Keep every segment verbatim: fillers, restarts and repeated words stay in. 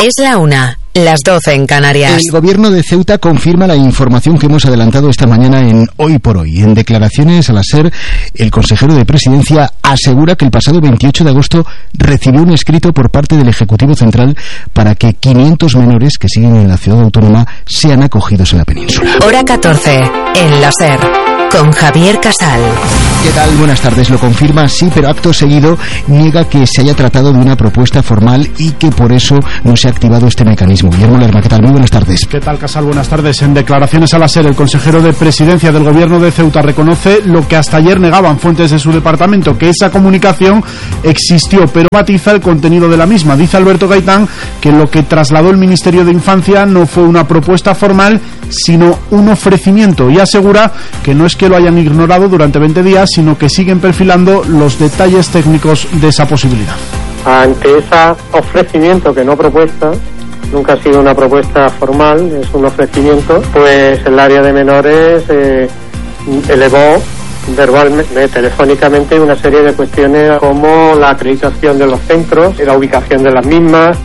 Es la una, las doce en Canarias. El gobierno de Ceuta confirma la información que hemos adelantado esta mañana en Hoy por Hoy. En declaraciones a la SER, el consejero de Presidencia asegura que el pasado veintiocho de agosto recibió un escrito por parte del Ejecutivo Central para que quinientos menores que siguen en la ciudad autónoma sean acogidos en la península. Hora catorce, en la SER, con Javier Casal. ¿Qué tal? Buenas tardes. Lo confirma, sí, pero acto seguido niega que se haya tratado de una propuesta formal y que por eso no se ha activado este mecanismo. Guillermo Lerma, ¿qué tal? Muy buenas tardes. ¿Qué tal, Casal? Buenas tardes. En declaraciones a la SER, el consejero de Presidencia del Gobierno de Ceuta reconoce lo que hasta ayer negaban fuentes de su departamento, que esa comunicación existió, pero matiza el contenido de la misma. Dice Alberto Gaitán que lo que trasladó el Ministerio de Infancia no fue una propuesta formal, sino un ofrecimiento, y asegura que no es que lo hayan ignorado durante veinte días, sino que siguen perfilando los detalles técnicos de esa posibilidad. Ante ese ofrecimiento, que no propuesta, nunca ha sido una propuesta formal, es un ofrecimiento, pues el área de menores eh, elevó verbalmente, telefónicamente, una serie de cuestiones como la acreditación de los centros, la ubicación de las mismas,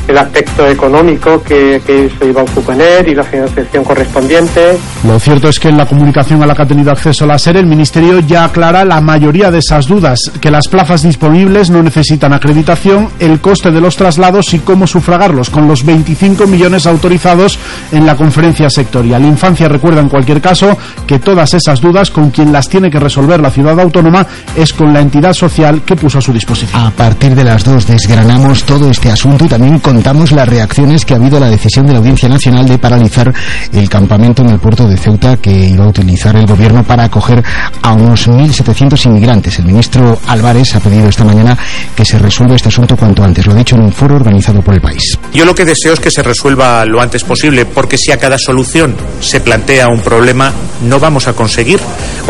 el aspecto económico que, que eso iba a suponer y la financiación correspondiente. Lo cierto es que en la comunicación a la que ha tenido acceso la SER, el Ministerio ya aclara la mayoría de esas dudas, que las plazas disponibles no necesitan acreditación, el coste de los traslados y cómo sufragarlos, con los veinticinco millones autorizados en la conferencia sectorial. Infancia recuerda en cualquier caso que todas esas dudas, con quien las tiene que resolver la ciudad autónoma, es con la entidad social que puso a su disposición. A partir de las dos desgranamos todo este asunto y también contamos las reacciones que ha habido a la decisión de la Audiencia Nacional de paralizar el campamento en el puerto de Ceuta que iba a utilizar el gobierno para acoger a unos mil setecientos inmigrantes. El ministro Álvarez ha pedido esta mañana que se resuelva este asunto cuanto antes. Lo ha dicho en un foro organizado por El País. Yo lo que deseo es que se resuelva lo antes posible, porque si a cada solución se plantea un problema, no vamos a conseguir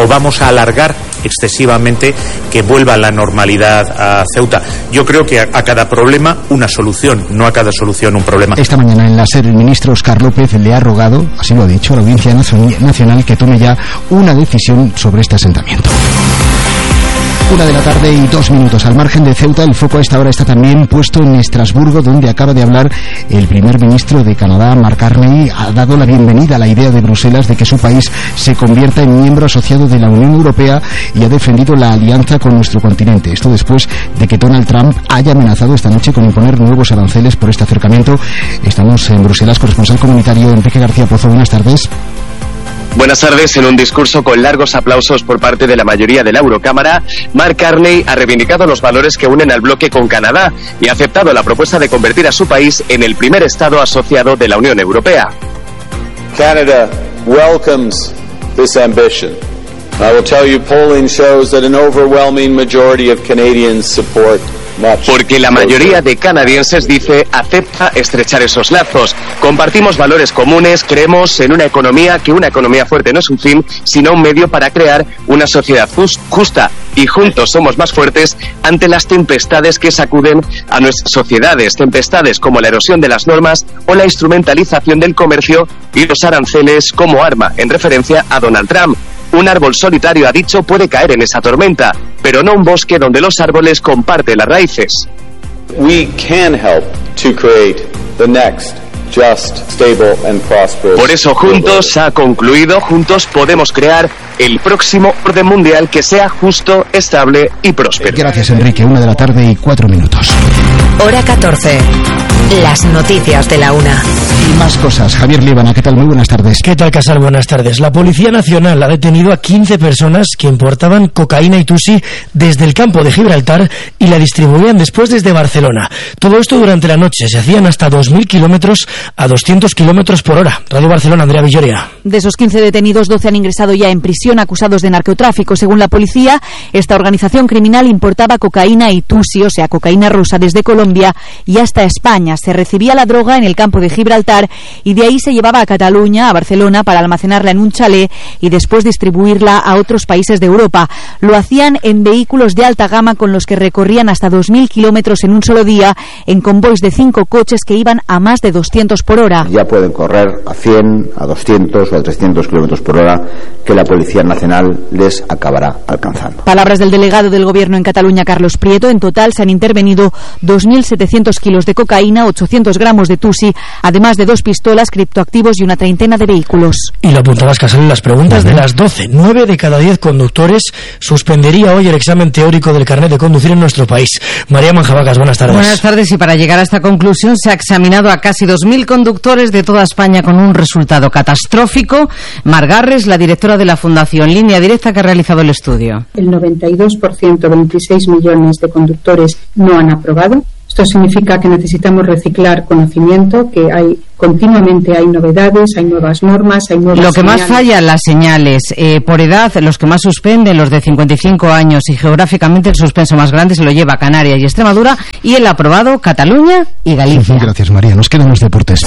o vamos a alargar excesivamente que vuelva a la normalidad a Ceuta. Yo creo que a, a cada problema una solución, no a cada solución un problema. Esta mañana en la SER el ministro Óscar López le ha rogado, así lo ha dicho, a la Audiencia Nacional que tome ya una decisión sobre este asentamiento. Una de la tarde y dos minutos. Al margen de Ceuta, el foco a esta hora está también puesto en Estrasburgo, donde acaba de hablar el primer ministro de Canadá, Mark Carney. Ha dado la bienvenida a la idea de Bruselas de que su país se convierta en miembro asociado de la Unión Europea y ha defendido la alianza con nuestro continente. Esto después de que Donald Trump haya amenazado esta noche con imponer nuevos aranceles por este acercamiento. Estamos en Bruselas, corresponsal comunitario Enrique García Pozo. Buenas tardes. Buenas tardes. En un discurso con largos aplausos por parte de la mayoría de la Eurocámara, Mark Carney ha reivindicado los valores que unen al bloque con Canadá y ha aceptado la propuesta de convertir a su país en el primer Estado asociado de la Unión Europea. Canada welcomes this ambition. I will tell you, polling shows that an overwhelming majority of Canadians support. Porque la mayoría de canadienses, dice, acepta estrechar esos lazos. Compartimos valores comunes, creemos en una economía, que una economía fuerte no es un fin, sino un medio para crear una sociedad justa. Y juntos somos más fuertes ante las tempestades que sacuden a nuestras sociedades. Tempestades como la erosión de las normas o la instrumentalización del comercio y los aranceles como arma, en referencia a Donald Trump. Un árbol solitario, ha dicho, puede caer en esa tormenta, pero no un bosque donde los árboles comparten las raíces. We can help to create the next just, stable and prosperous. Por eso juntos, ha concluido, juntos podemos crear el próximo orden mundial que sea justo, estable y próspero. Gracias, Enrique. Una de la tarde y cuatro minutos. Hora catorce. Las noticias de la una. Y más cosas. Javier Líbana, ¿qué tal? Muy buenas tardes. ¿Qué tal, Casal? Buenas tardes. La Policía Nacional ha detenido a quince personas que importaban cocaína y tusi desde el campo de Gibraltar y la distribuían después desde Barcelona. Todo esto durante la noche. Se hacían hasta dos mil kilómetros a doscientos kilómetros por hora. Radio Barcelona, Andrea Villoria. De esos quince detenidos, doce han ingresado ya en prisión acusados de narcotráfico. Según la policía, esta organización criminal importaba cocaína y tusi, o sea, cocaína rusa, desde Colombia y hasta España. Se recibía la droga en el campo de Gibraltar y de ahí se llevaba a Cataluña, a Barcelona, para almacenarla en un chalet y después distribuirla a otros países de Europa. Lo hacían en vehículos de alta gama con los que recorrían hasta dos mil kilómetros en un solo día, en convoys de cinco coches que iban a más de doscientos por hora. Ya pueden correr a cien, a doscientos o a trescientos kilómetros por hora, que la Policía Nacional les acabará alcanzando. Palabras del delegado del Gobierno en Cataluña, Carlos Prieto. En total se han intervenido dos mil setecientos kilos de cocaína, cocaína, ochocientos gramos de tusi, además de dos pistolas, criptoactivos y una treintena de vehículos. Y lo apuntabas, Casal, en las preguntas de las doce. Nueve de cada diez conductores suspendería hoy el examen teórico del carnet de conducir en nuestro país. María Manjabacas, buenas tardes. Buenas tardes, y para llegar a esta conclusión se ha examinado a casi dos mil conductores de toda España con un resultado catastrófico. Mar Garres, la directora de la Fundación Línea Directa, que ha realizado el estudio. El noventa y dos por ciento, veintiséis millones de conductores no han aprobado. Esto significa que necesitamos reciclar conocimiento, que hay continuamente hay novedades, hay nuevas normas, hay nuevas Lo que señales. más falla, las señales. Eh, por edad, los que más suspenden, los de cincuenta y cinco años, y geográficamente el suspenso más grande se lo lleva Canarias y Extremadura, y el aprobado Cataluña y Galicia. Gracias, María. Nos quedan los deportes.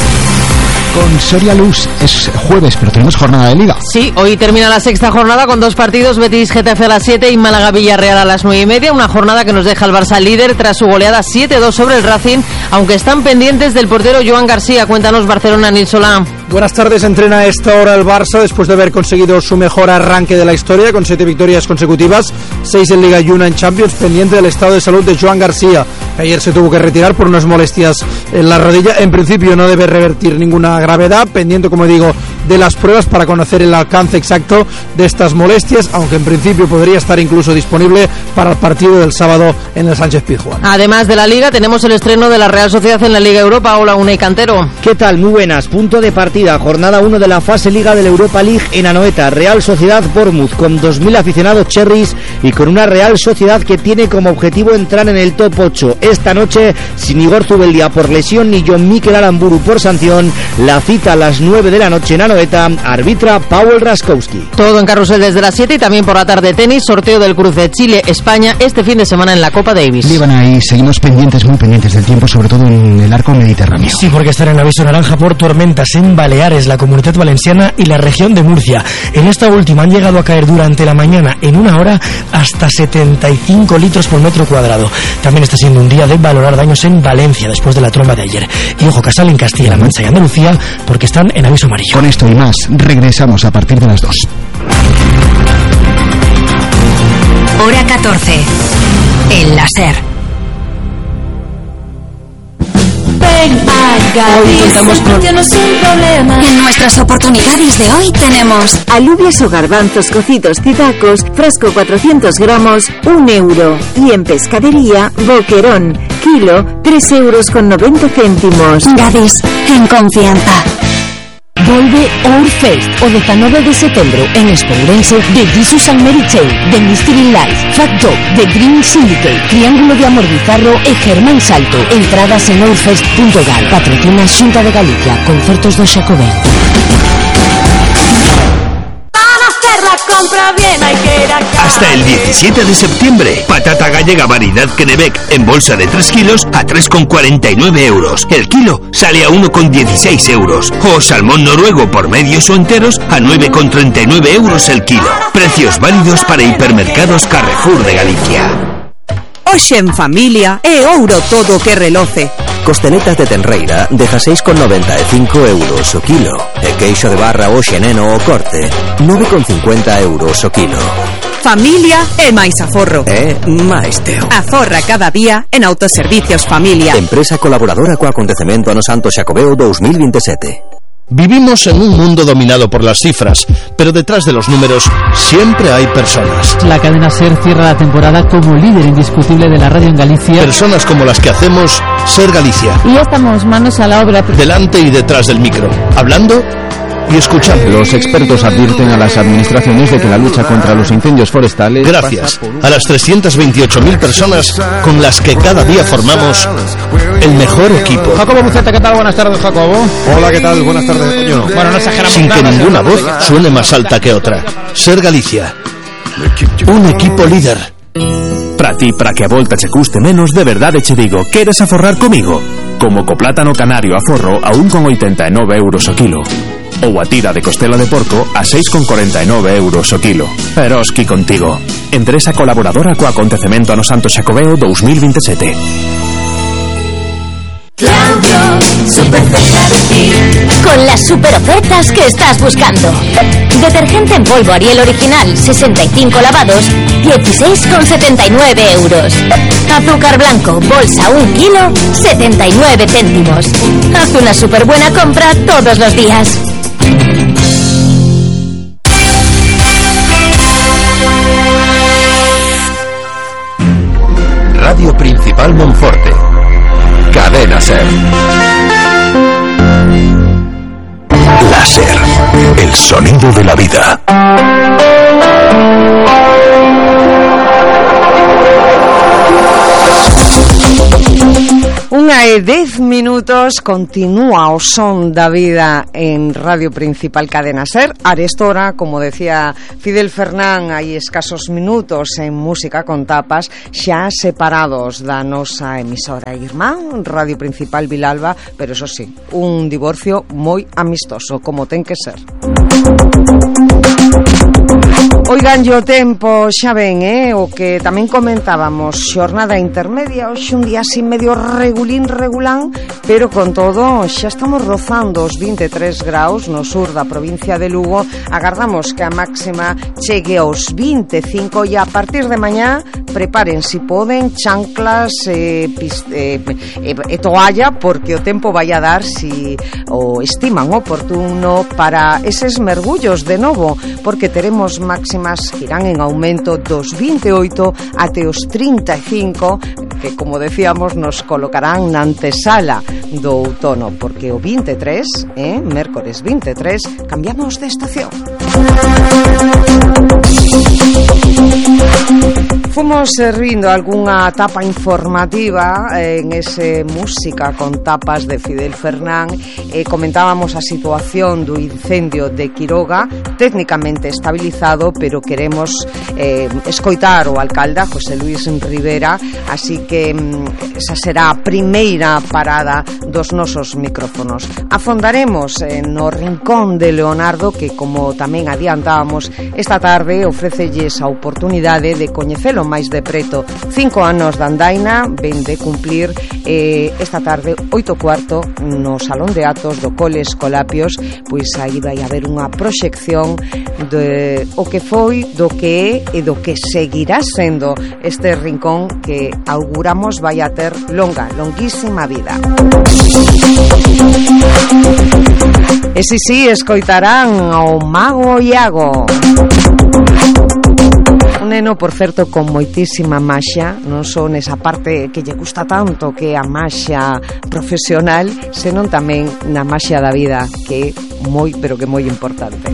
Con Soria Luz es jueves, pero tenemos jornada de Liga. Sí, hoy termina la sexta jornada con dos partidos, Betis G T F a las siete y Málaga Villarreal a las nueve y media. Una jornada que nos deja al Barça líder tras su goleada siete dos sobre el Racing, aunque están pendientes del portero Joan García. Cuéntanos, Barcelona, Nil Solá. Buenas tardes. Entrena a esta hora el Barça después de haber conseguido su mejor arranque de la historia con siete victorias consecutivas, seis en Liga y una en Champions, pendiente del estado de salud de Joan García. Ayer se tuvo que retirar por unas molestias en la rodilla. En principio no debe revertir ninguna gravedad, pendiente, como digo, de las pruebas para conocer el alcance exacto de estas molestias, aunque en principio podría estar incluso disponible para el partido del sábado en el Sánchez Pizjuán. Además de la Liga, tenemos el estreno de la Real Sociedad en la Liga Europa. Hola, Unai Cantero. ¿Qué tal? Muy buenas. Punto de partida, jornada uno de la fase Liga de la Europa League en Anoeta. Real Sociedad Bournemouth con dos mil aficionados cherries y con una Real Sociedad que tiene como objetivo entrar en el top ocho. Esta noche, sin Igor Zubeldia por lesión ni John Mikel Aramburu por sanción, la cita a las nueve de la noche en Anoeta, arbitra Paweł Raskowski. Todo en carrusel desde las siete y también por la tarde tenis, sorteo del cruce Chile-España este fin de semana en la Copa Davis. Líbana, y seguimos pendientes, muy pendientes del tiempo, sobre todo en el arco mediterráneo. Sí, porque estará en aviso naranja por tormentas en Baleares, la Comunidad Valenciana y la región de Murcia. En esta última han llegado a caer durante la mañana, en una hora, hasta setenta y cinco litros por metro cuadrado. También está siendo un día de valorar daños en Valencia después de la tromba de ayer. Y ojo, Casal, en Castilla-La Mancha y Andalucía, porque están en aviso amarillo. Con esto y más, regresamos a partir de las dos. Hora catorce. El láser. Ven a Gadis, tienes un problema. En nuestras oportunidades de hoy tenemos alubias o garbanzos cocidos titacos, frasco cuatrocientos gramos, un euro. Y en pescadería, boquerón, kilo, tres euros con noventa céntimos. Gadis, en confianza. Volve Outfest o dezanove de setembro en Espourense de Jesus and Mary Chain, de Mystery Life, Fat Dog, de Green Syndicate, Triángulo de Amor Bizarro e Germán Salto. Entradas en outfest punto gal. Patrocina Xunta de Galicia. Concertos do Xacobeo. Compra bien, hay que ir a casa. Hasta el diecisiete de septiembre, patata gallega variedad Kennebec en bolsa de tres kilos a tres con cuarenta y nueve euros. El kilo sale a uno con dieciséis euros. O salmón noruego por medios o enteros a nueve con treinta y nueve euros el kilo. Precios válidos para hipermercados Carrefour de Galicia. Hoxe en familia é ouro todo que reloce. Costeletas de tenreira dezasseis con noventa e cinco euros o kilo. E queixo de barra hoxe neno o corte, nove con cincuenta euros o kilo. Familia e máis aforro. E máis teo. Aforra cada día en Autoservicios Familia. Empresa colaboradora co acontecemento ano Santo Xacobeo dos mil veintisiete. Vivimos en un mundo dominado por las cifras, pero detrás de los números siempre hay personas. La cadena SER cierra la temporada como líder indiscutible de la radio en Galicia. Personas como las que hacemos SER Galicia. Y ya estamos manos a la obra. Delante y detrás del micro, hablando y escuchando. Los expertos advierten a las administraciones de que la lucha contra los incendios forestales... Gracias a las trescientas veintiocho mil personas con las que cada día formamos el mejor equipo. Jacobo Buceta, ¿qué tal? Buenas tardes, Jacobo. Hola, ¿qué tal? Buenas tardes, Toño. Bueno, no exageramos. Sin que ninguna voz suene más alta que otra. SER Galicia. Un equipo líder. Para ti, para que a volta che custe menos, de verdade che digo, queres aforrar comigo? Como co plátano canario aforro a un con oitenta e nove euros o kilo. Ou a tira de costela de porco a seis con cuarenta y nueve euros o kilo. Eroski contigo. Empresa colaboradora co acontecemento ano Santo Xacobeo dos mil veintisiete. Claudio, super cerca de ti. con las super ofertas que estás buscando. Detergente en polvo Ariel original, sesenta y cinco lavados, dieciséis con setenta y nueve euros. Azúcar blanco, bolsa un kilo, setenta y nueve céntimos. Haz una super buena compra todos los días. Radio Principal Monforte. Cadena Ser. Láser. El sonido de la vida. Unha e dez minutos, continúa o son da vida en Radio Principal Cadena Ser. Arestora, como decía Fidel Fernán, hai escasos minutos en Música con Tapas, xa separados da nosa emisora irmá, Radio Principal Vilalba, pero eso sí, un divorcio moi amistoso, como ten que ser. Oigan, yo tempo, xa ven, eh, o que tamén comentábamos, xornada intermedia, hoxe un día así medio regulín, regulán, pero con todo xa estamos rozando os vinte e tres graus no sur da provincia de Lugo. Agardamos que a máxima chegue aos vinte e cinco e a partir de mañá preparen, si poden, chanclas e eh, eh, eh, toalla, porque o tempo vai a dar, si o estiman oportuno, para eses mergullos de novo, porque teremos máximas que irán en aumento dos vinte e oito até os trinta e cinco, que, como decíamos, nos colocarán na antesala do outono, porque o vinte e tres, eh, mércores vinte e tres, cambiamos de estación. Fomos servindo algunha tapa informativa en ese Música con Tapas de Fidel Fernán. eh, Comentábamos a situación do incendio de Quiroga, técnicamente estabilizado, pero queremos eh, escoitar o alcalde José Luis Rivera, así que mm, esa será a primeira parada dos nosos micrófonos. Afondaremos eh, no rincón de Leonardo, que, como tamén adiantábamos esta tarde, ofrecelles a oportunidade de coñecelo máis de preto. Cinco anos de andaina, ven de cumplir eh, esta tarde, oito cuarto, no Salón de Atos do Cole Escolapios. Pois aí vai haber unha proxección de o que foi, do que é e do que seguirá sendo este rincón que auguramos vai a ter longa, longuísima vida. E si si, escoitarán ao Mago Iago, un neno, por certo, con moitísima maxia, non só nesa parte que lle gusta tanto, que é a maxia profesional, senón tamén na maxia da vida, que é moi, pero que moi importante.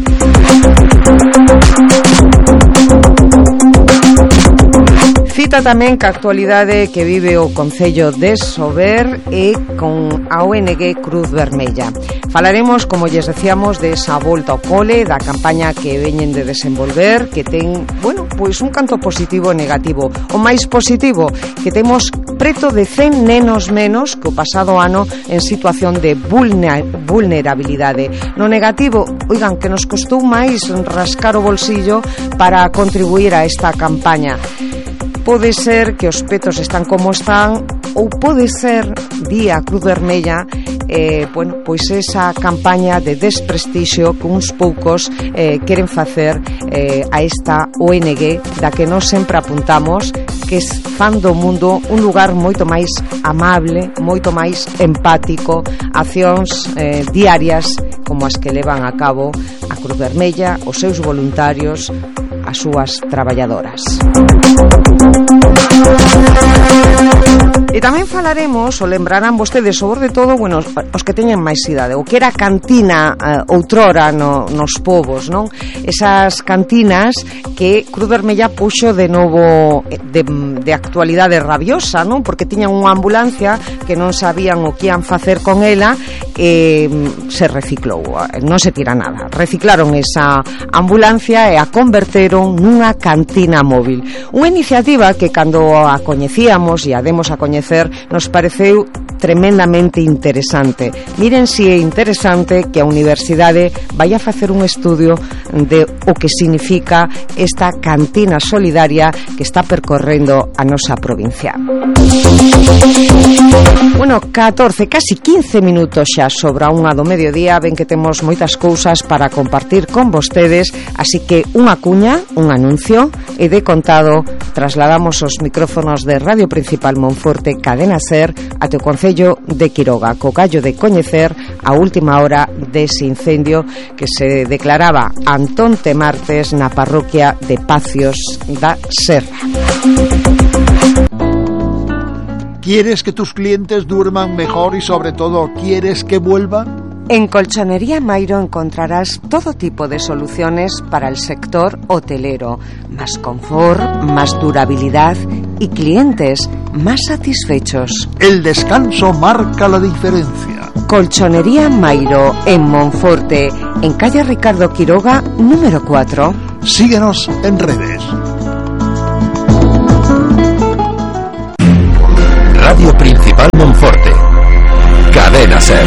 Cita tamén ca actualidade que vive o Concello de Sober e con a O N G Cruz Vermella. Falaremos, como lles decíamos, de esa volta ao cole, da campaña que veñen de desenvolver, que ten, bueno, pois un canto positivo e negativo. O máis positivo, que temos preto de cen nenos menos que o pasado ano en situación de vulnerabilidade. No negativo, oigan, que nos costou máis rascar o bolsillo para contribuir a esta campaña. Pode ser que os petos están como están, ou pode ser, día Cruz Vermella, eh, bueno, pois esa campaña de desprestixio que uns poucos eh, queren facer eh, a esta O N G, da que nós sempre apuntamos que fan do mundo un lugar moito máis amable, moito máis empático, accións eh, diarias como as que levan a cabo a Cruz Vermella, os seus voluntarios, as súas traballadoras. E tamén falaremos, o lembrarán vostedes, sobre todo, bueno, os que teñen máis idade, o que era cantina uh, outrora no, nos povos, non? Esas cantinas que Cruz Vermella puxo de novo de, de actualidade rabiosa, non? Porque tiñan unha ambulancia que non sabían o que ian facer con ela, e se reciclou, non se tira nada. Reciclaron esa ambulancia e a converteron nunha cantina móvil. Unha iniciativa que, cando a coñecíamos e a demos a coñecer, nos pareceu tremendamente interesante. Miren si é interesante que a universidade vai a facer un estudio de o que significa esta cantina solidaria que está percorrendo a nosa provincia. Bueno, catorce, casi quince minutos xa sobre a unha do mediodía. Ven que temos moitas cousas para compartir con vostedes, así que unha cuña, un anuncio, e de contado trasladamos os micrófonos de Radio Principal Monforte Cadena Ser até o Concello de Quiroga, co gallo de coñecer a última hora dese incendio que se declaraba antonte martes na parroquia de Pacios da Serra. ¿Quieres que tus clientes duerman mejor y sobre todo quieres que vuelvan? En Colchonería Mairo encontrarás todo tipo de soluciones para el sector hotelero, más confort, más durabilidad y clientes más satisfechos. El descanso marca la diferencia. Colchonería Mairo en Monforte, en calle Ricardo Quiroga, número cuatro. Síguenos en redes. Radio Principal Monforte. Cadena Ser.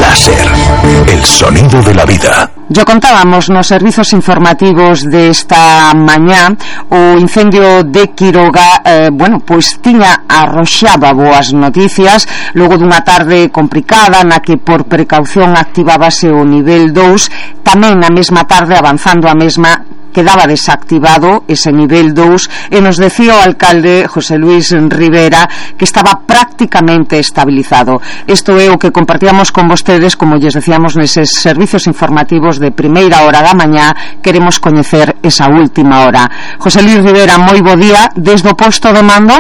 La Ser, el sonido de la vida. Yo contábamos nos servizos informativos desta mañá o incendio de Quiroga, eh, bueno, pois tiña arroxaba boas noticias logo dunha tarde complicada na que por precaución activábase o nivel dous, tamén na mesma tarde avanzando a mesma quedaba desactivado ese nivel dous e nos decía o alcalde José Luis Rivera que estaba prácticamente estabilizado. Isto é o que compartíamos con vostedes, como lles decíamos neses servizos informativos de primeira hora da mañá. Queremos coñecer esa última hora. José Luis Rivera, moi bo día desde o posto de mando.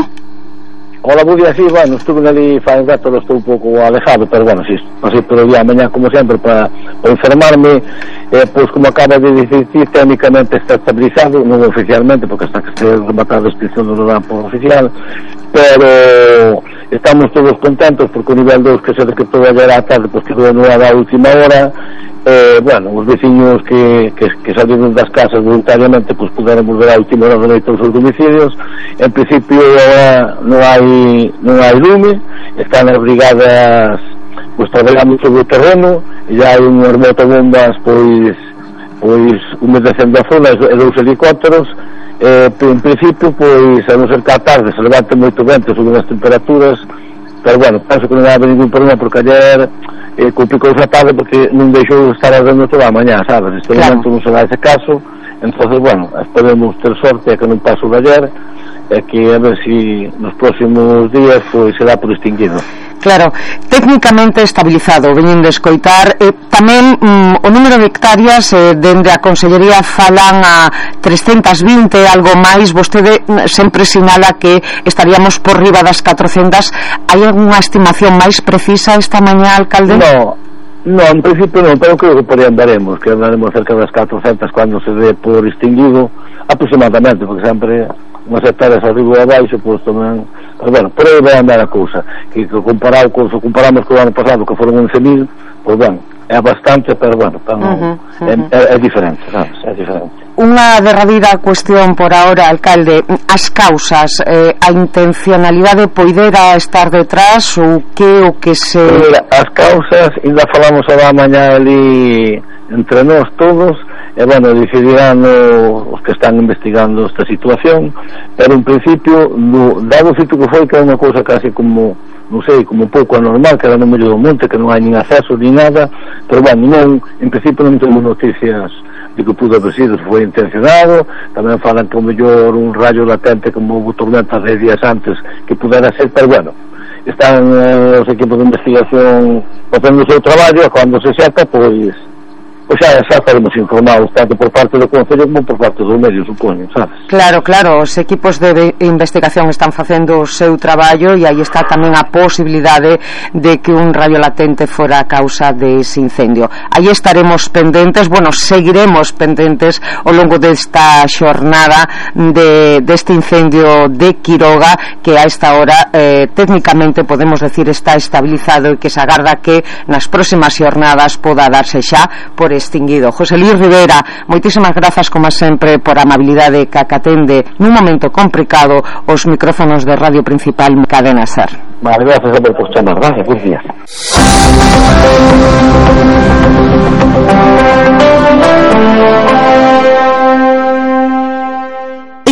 Hola, bo día, sí, bueno, estuve ali fai un rato, estou un pouco alejado, pero bueno, sí, pasei por o día mañá como sempre para, para informarme, eh, pois como acaba de dicir, técnicamente está estabilizado, non oficialmente, porque hasta que se rematada a extinción do campo oficial, pero estamos todos contentos porque o nivel dous que se decretou ayer á tarde, pois quedou anulado a última hora. Eh, bueno, os veciños que, que, que salieron das casas voluntariamente pois puderon volver a última hora de noite aos seus domicilios. En principio agora non hai non hai lume, están as brigadas pois traballando sobre o terreno, e já hai unhas motobombas pois pois humedecendo a zona e dous helicópteros. Eh, en principio pois a non ser que a tarde se levante moito vento, suben as temperaturas, pero bueno, penso que non vai haber ningún problema porque ayer eh, complicou a tarde porque non deixou de estar ardendo toda a mañá, sabes? Este claro. Momento non se dá ese caso, entonces bueno, esperemos ter sorte que non paso de ayer e que a ver si nos próximos días pois será por extinguido. Claro, técnicamente estabilizado, veñen de escoitar, eh, tamén mm, o número de hectáreas eh, dende a Consellería falan a trescentas vinte, algo máis. Vostede sempre sinala que estaríamos por riba das catrocentas. Hai algunha estimación máis precisa esta mañá, alcalde? No, no, en principio non, pero creo que por aí andaremos, que andaremos cerca das catrocentas cando se dé por extinguido, aproximadamente, porque sempre unhas hectáreas arriba e abaixo, pois tamén, pero bueno, por aí vai andar a cousa, que, que comparado, con, se comparamos co ano pasado, que foron once mil, pois bueno, é bastante, pero bueno, tan, uh -huh, uh -huh. É, é diferente, sabes, é diferente. Unha derradeira cuestión por ahora, alcalde, as causas, eh, a intencionalidade poidera estar detrás ou que o que se... Mira, as causas, ainda falamos a da mañá ali entre nós todos, e bueno, decidirán os que están investigando esta situación, pero en principio no, dado o feito que foi, que é unha cousa casi como, non sei, como un pouco anormal, que era no medio do monte, que non hai nin acceso ni nada, pero bueno, non, en principio non temos noticias de que pudo haber sido, foi intencionado. Tamén falan que o mellor un rayo latente como houve tormenta de días antes que pudera ser, pero bueno, están eh, os equipos de investigación facendo o seu traballo, e cando se sepa, pois pois xa, xa estaremos informados tanto por parte do Concello como por parte do medio, supoño, sabes? Claro, claro, os equipos de investigación están facendo o seu traballo e aí está tamén a posibilidade de que un rayo latente fora a causa dese incendio. Aí estaremos pendentes, bueno, seguiremos pendentes ao longo desta xornada de, deste incendio de Quiroga, que a esta hora eh, técnicamente podemos decir está estabilizado e que se agarda que nas próximas xornadas poda darse xa por extinguido. José Luis Rivera, moitísimas grazas como sempre por a amabilidade que acatende nun momento complicado os micrófonos de Radio Principal Cadena SER. Vale, gracias por por chamar, gracias, buenos días.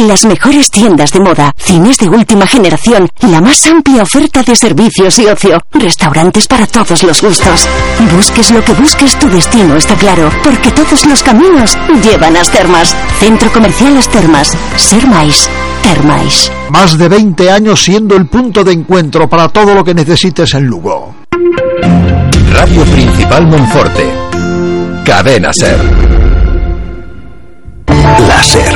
Las mejores tiendas de moda, cines de última generación, la más amplia oferta de servicios y ocio, restaurantes para todos los gustos. Busques lo que busques, tu destino está claro, porque todos los caminos llevan a As Termas. Centro Comercial As Termas. Ser máis, ter máis. Más de veinte años siendo el punto de encuentro para todo lo que necesites en Lugo. Radio Principal Monforte. Cadena SER. La SER,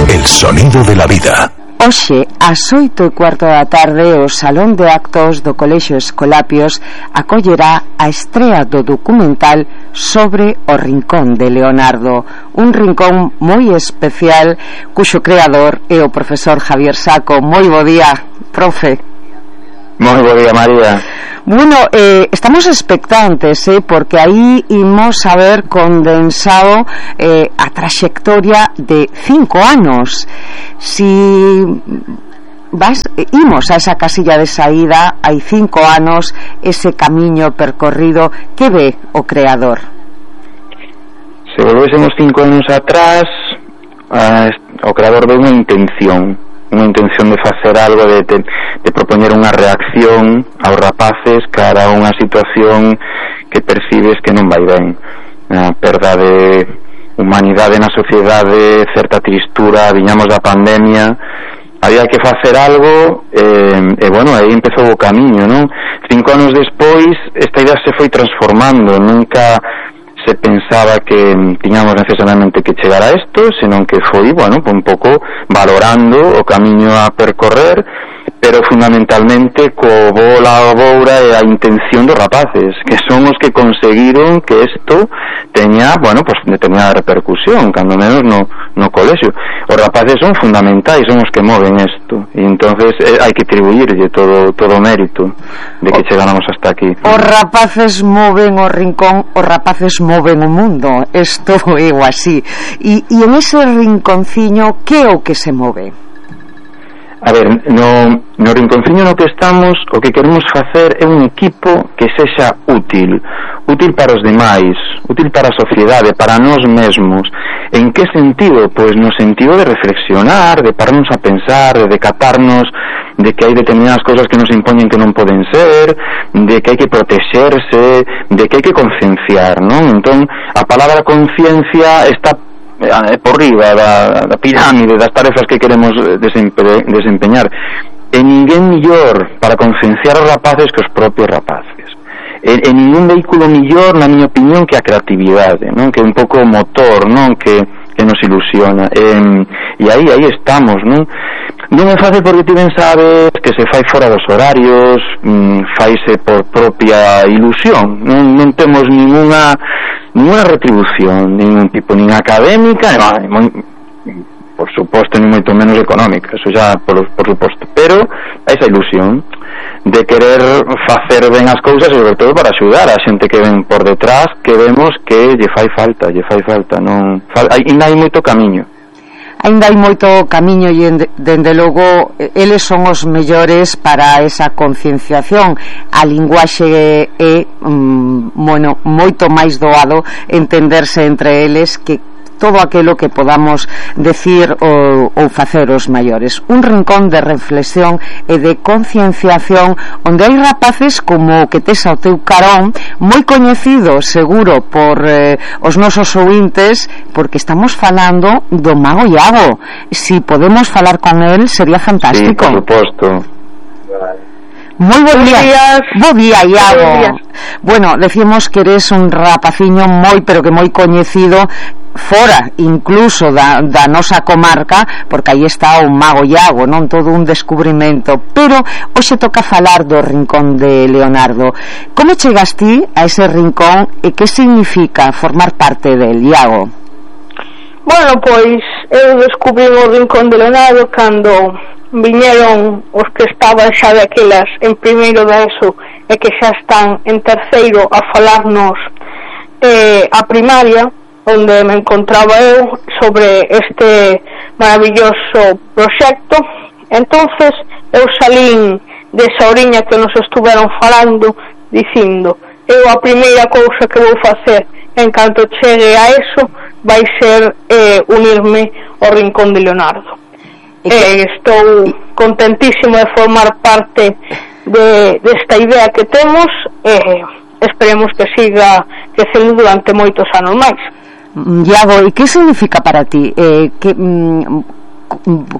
el sonido de la vida. Hoxe, ás oito e cuarto da tarde, o Salón de Actos do Colexio Escolapios acollerá a estrea do documental sobre o Rincón de Leonardo, un rincón moi especial cuxo creador é o profesor Javier Saco. Moi bo día, profe. Moi bo día, María. Bueno, eh, estamos expectantes, eh, porque aí imos a ver condensado eh, a traxectoria de cinco anos. Si vas, eh, imos a esa casilla de saída, hai cinco anos, ese camiño percorrido, que ve o creador? Se volvésemos cinco anos atrás, eh, o creador ve unha intención, unha intención de facer algo, de, de, de propoñer unha reacción aos rapaces cara a unha situación que percibes que non vai ben, a perda de humanidade na sociedade, certa tristura, viñamos da pandemia, había que facer algo, e, e bueno, aí empezou o camiño, non? Cinco anos despois esta idea se foi transformando, nunca se pensaba que tiñamos necesariamente que chegar a isto, senón que foi, bueno, un pouco valorando o camiño a percorrer, pero fundamentalmente co bola a boura e a intención dos rapaces, que son os que conseguiron que isto teña, bueno, pues determinada repercusión, cando menos no, no colexio. Os rapaces son fundamentais, son os que moven isto, e entonces eh, hai que atribuirlle todo todo o mérito de que chegáramos hasta aquí. Os rapaces moven o rincón, os rapaces moven o mundo, isto é o así. E, e en ese rinconciño, que é o que se move? A ver, no, no rinconciño no que estamos, o que queremos facer é un equipo que sexa útil, útil para os demais, útil para a sociedade, para nós mesmos. En que sentido? Pois no sentido de reflexionar, de pararnos a pensar, de decatarnos de que hai determinadas cousas que nos impoñen que non poden ser, de que hai que protexerse, de que hai que concienciar, non? Entón, a palabra conciencia está por riba da, da pirámide das tarefas que queremos desempe- desempeñar, e ninguén millor para concienciar os rapaces que os propios rapaces, e, e ningún vehículo millor, na miña opinión, que a creatividade, non? Que é un pouco o motor, non? Que, que nos ilusiona, e, e aí, aí estamos, non? Non é fácil porque ti ben sabes que se fai fora dos horarios, mmm, faise por propia ilusión, non, non temos ninguna ninguna retribución, ningún tipo, nin académica, non, por suposto, nin moito menos económica, eso xa por, por suposto, pero esa ilusión de querer facer ben as cousas, sobre todo para axudar a xente que ven por detrás, que vemos que lle fai falta, lle fai falta, non, fal, ainda hai moito camiño. Ainda hai moito camiño e, dende logo, eles son os mellores para esa concienciación. A linguaxe é, mm, bueno, moito máis doado entenderse entre eles que todo aquilo que podamos decir ou, ou facer os maiores. Un rincón de reflexión e de concienciación onde hai rapaces como que tes ao teu carón, moi coñecido seguro por eh, os nosos ouvintes, porque estamos falando do Mago Iago. Si podemos falar con el sería fantástico. Sí, por suposto. Moi bo día. Bo día, Iago. Bueno, decimos que eres un rapaciño moi, pero que moi coñecido fora incluso da, da nosa comarca, porque aí está o Mago Iago, non? Todo un descubrimento. Pero hoxe toca falar do Rincón de Leonardo. Como chegas ti a ese rincón e que significa formar parte del, Iago? Bueno, pois eu descubrí o Rincón de Leonardo cando viñeron os que estaban xa daquelas en primeiro da ESO e que xa están en terceiro a falarnos eh, a primaria onde me encontraba eu sobre este maravilloso proxecto. Entonces eu salín desa oriña que nos estuveron falando dicindo, eu a primeira cousa que vou facer en canto chegue a eso vai ser eh, unirme ao Rincón de Leonardo. Eh, estou contentísimo de formar parte de desta idea que temos e eh, esperemos que siga crecendo durante moitos anos máis. Iago, e que significa para ti? Eh, que, mm,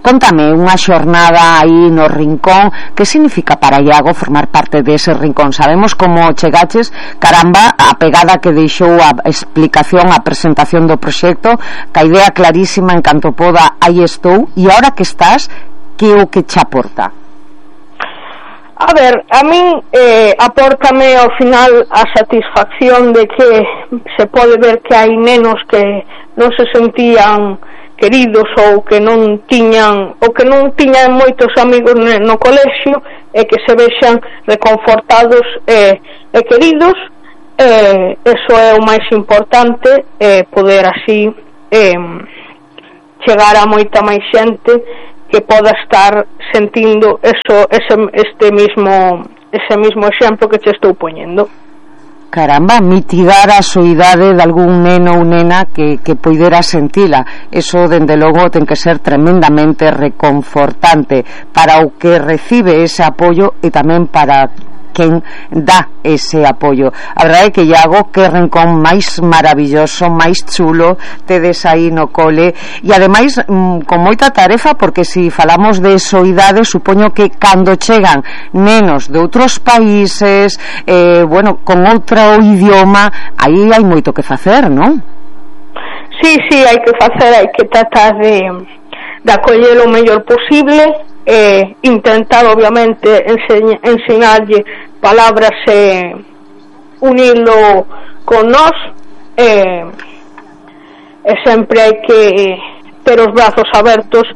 contame unha xornada aí no Rincón. Que significa para Iago formar parte dese Rincón? Sabemos como chegaches, caramba, a pegada que deixou a explicación, a presentación do proxecto, que a idea clarísima, en canto poda, aí estou, e ahora que estás, que o que che aporta? A ver, a min eh, apórtame ao final a satisfacción de que se pode ver que hai nenos que non se sentían queridos ou que non tiñan ou que non tiñan moitos amigos no colexio e que se vexan reconfortados e, e queridos. Eh, eso é o máis importante, eh, poder así eh, chegar a moita máis xente que poda estar sentindo eso, ese, este mismo ese mismo exemplo que che estou poñendo. Caramba, mitigar a soidade de algún neno ou nena que, que poidera sentila. Eso, dende logo, ten que ser tremendamente reconfortante para o que recibe ese apoio e tamén para quen dá ese apoio. A verdade é que Iago, que rincón máis maravilloso, máis chulo tedes aí no cole, e ademais mm, con moita tarefa, porque se si falamos de soidade, supoño que cando chegan nenos de outros países, eh, bueno, con outro idioma, aí hai moito que facer, non? Sí, sí, hai que facer, hai que tratar de, de acoller o mellor posible, eh, intentar obviamente enseñ, ensinarlle palabras e eh, unilo con nós, eh, e sempre hai que ter os brazos abertos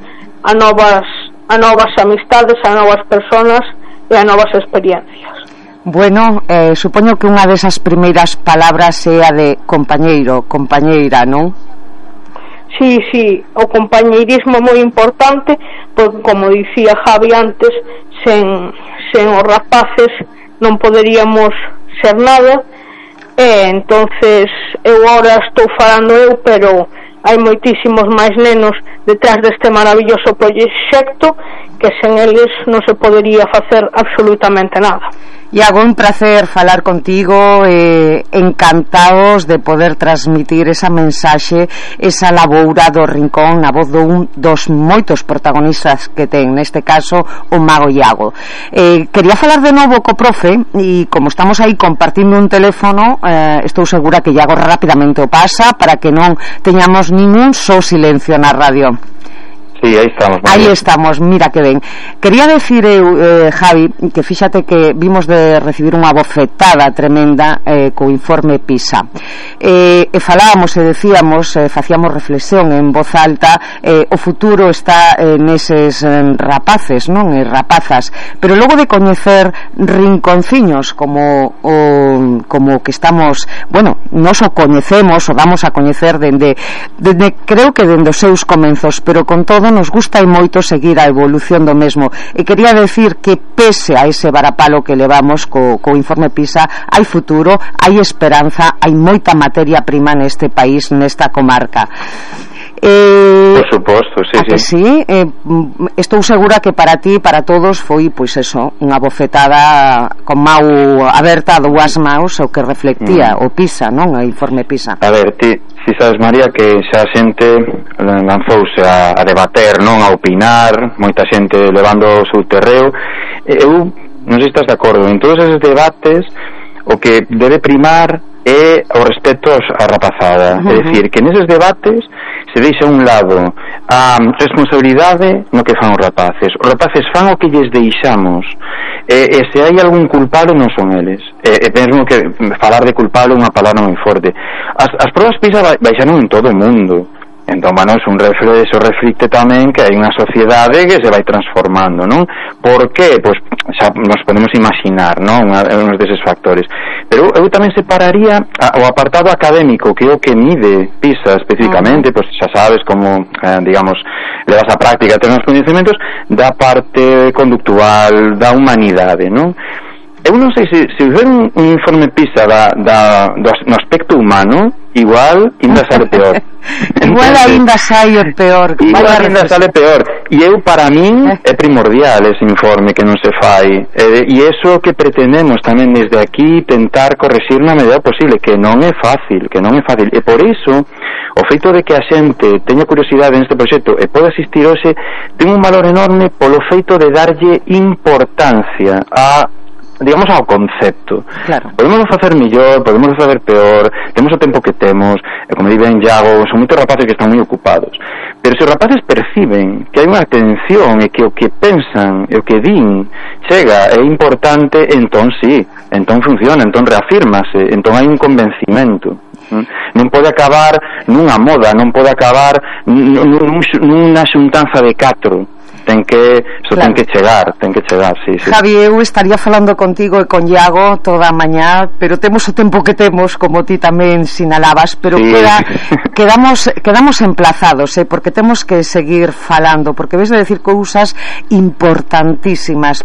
a novas a novas amistades, a novas personas e a novas experiencias. Bueno, eh, supoño que unha desas primeiras palabras é a de compañeiro, compañeira, non? Sí, sí, o compañeirismo é moi importante, porque como dicía Javi antes, sen, sen os rapaces non poderíamos ser nada, e entonces eu agora estou falando eu, pero hai moitísimos máis nenos detrás deste maravilloso proxecto que sen eles non se podería facer absolutamente nada. Iago, un placer falar contigo, eh, encantados de poder transmitir esa mensaxe, esa laboura do Rincón na voz dun dos moitos protagonistas que ten, neste caso o mago Iago. Eh, quería falar de novo co profe, e como estamos aí compartindo un teléfono, eh, estou segura que Iago rapidamente o pasa para que non teñamos ningún só silencio na radio. Sí, aí estamos. Aí estamos, mira que ben. Quería decir eu, eh, Javi, que fíxate que vimos de recibir unha bofetada tremenda eh, co informe PISA. Eh, e falábamos e decíamos, eh, facíamos reflexión en voz alta, eh, o futuro está eh, neses eh, rapaces, non? E rapazas. Pero logo de coñecer rinconciños como o, como que estamos, bueno, nos o coñecemos, o damos a coñecer dende, dende creo que dende os seus comenzos, pero con todo nos gusta e moito seguir a evolución do mesmo, e quería decir que pese a ese varapalo que levamos co, co informe PISA, hai futuro, hai esperanza, hai moita materia prima neste país, nesta comarca. Eh, por suposto, sí, sí. sí? Eh, estou segura que para ti, para todos, foi, pois eso, unha bofetada con mau aberta a dúas maus, o que reflectía mm. o PISA, non? O informe PISA. A ver, ti, si sabes, María, que xa a xente lanzouse a, a debater, non? A opinar, moita xente levando o seu terreo. Eu non sei se estás de acordo, en todos esos debates o que debe primar é o respeto á rapazada. Uh-huh. É dicir, que neses debates se deixa a un lado a responsabilidade no que fan os rapaces. Os rapaces fan o que lles deixamos, e, e se hai algún culpable non son eles. E, e mesmo que falar de culpable é unha palabra moi forte. As, as probas PISA baixaron en todo o mundo. Entón, bueno, es un refle, eso reflicte tamén que hai unha sociedade que se vai transformando, non? Por qué? Pois xa nos podemos imaginar, non? Uns deses factores. Pero eu tamén separaría a, o apartado académico, que é o que mide PISA especificamente, uh -huh. pois xa sabes como, eh, digamos, levas a práctica, ten os coñecementos, da parte conductual, da humanidade, non? Eu non sei se, se ver un, un informe PISA da, da, do, no aspecto humano, igual ainda sale peor. Igual ainda sai o peor. Igual ainda sale peor. E eu, para min, é primordial ese informe que non se fai. E, e eso que pretendemos tamén desde aquí tentar corregir na medida posible, que non é fácil, que non é fácil. E por iso, o feito de que a xente teña curiosidade neste proxecto e pode asistir hoxe, ten un valor enorme polo feito de darlle importancia a digamos ao concepto. Claro. Podemos facer millor, podemos facer peor, temos o tempo que temos, e como di ben Iago, son moitos rapaces que están moi ocupados. Pero se os rapaces perciben que hai unha atención e que o que pensan e o que din chega, é importante, entón sí, entón funciona, entón reafírmase, entón hai un convencimento. Non pode acabar nunha moda, non pode acabar nunha xuntanza de catro. Ten que, isto claro. ten que chegar, ten que chegar, sí, sí. Javi, eu estaría falando contigo e con Iago toda a mañá, pero temos o tempo que temos, como ti tamén sinalabas, pero sí. queda, quedamos quedamos emplazados, eh, porque temos que seguir falando, porque ves de decir cousas importantísimas.